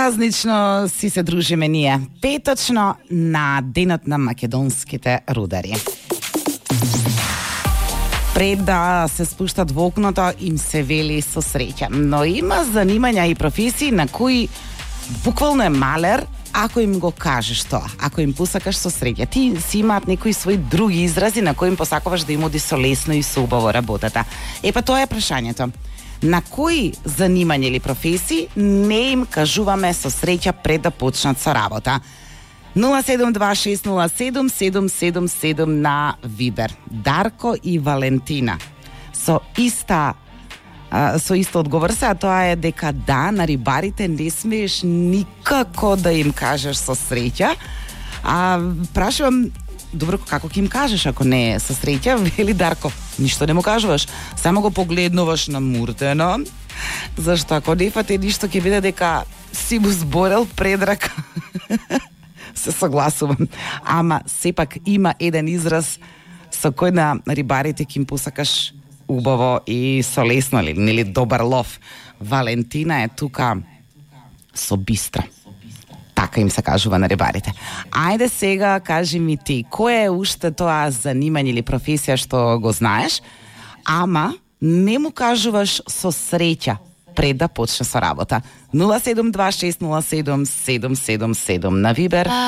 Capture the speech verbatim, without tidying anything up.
Празнично си се дружиме ние, петочно на денот на македонските рудари. Пред да се спуштат во окното, им се вели со среќа. Но има занимања и професии на кои буквално е малер ако им го кажеш тоа, ако им посакаш со среќа. Ти си имаат некои свои други изрази на кои им посакуваш да им оди со лесно и со убаво работата. Е па тоа е прашањето. На кои занимања или професии не им кажуваме со среќа пред да почнат со работа? нула седум два шест нула седум седум седум седум на Вибер. Дарко и Валентина со иста а, со исто одговор се, а тоа е дека да, на рибарите не смееш никако да им кажеш со среќа. А прашувам, добро, како ќе им кажеш ако не е со среќа? Вели Дарко, ништо не му кажуваш, само го погледнуваш на муртено, зашто ако не фате ништо ќе биде дека си му зборел предрак. Се согласувам. Ама сепак има еден израз со кој на рибарите ќе им посакаш убаво и со лесно, нели добар лов. Валентина е тука со бистра. Така им се кажува на рибарите. Ајде сега кажи ми ти, кој е уште тоа занимање или професија што го знаеш, ама не му кажуваш со среќа пред да почне со работа. нула седум два шест нула седум седум седум седум на Вибер.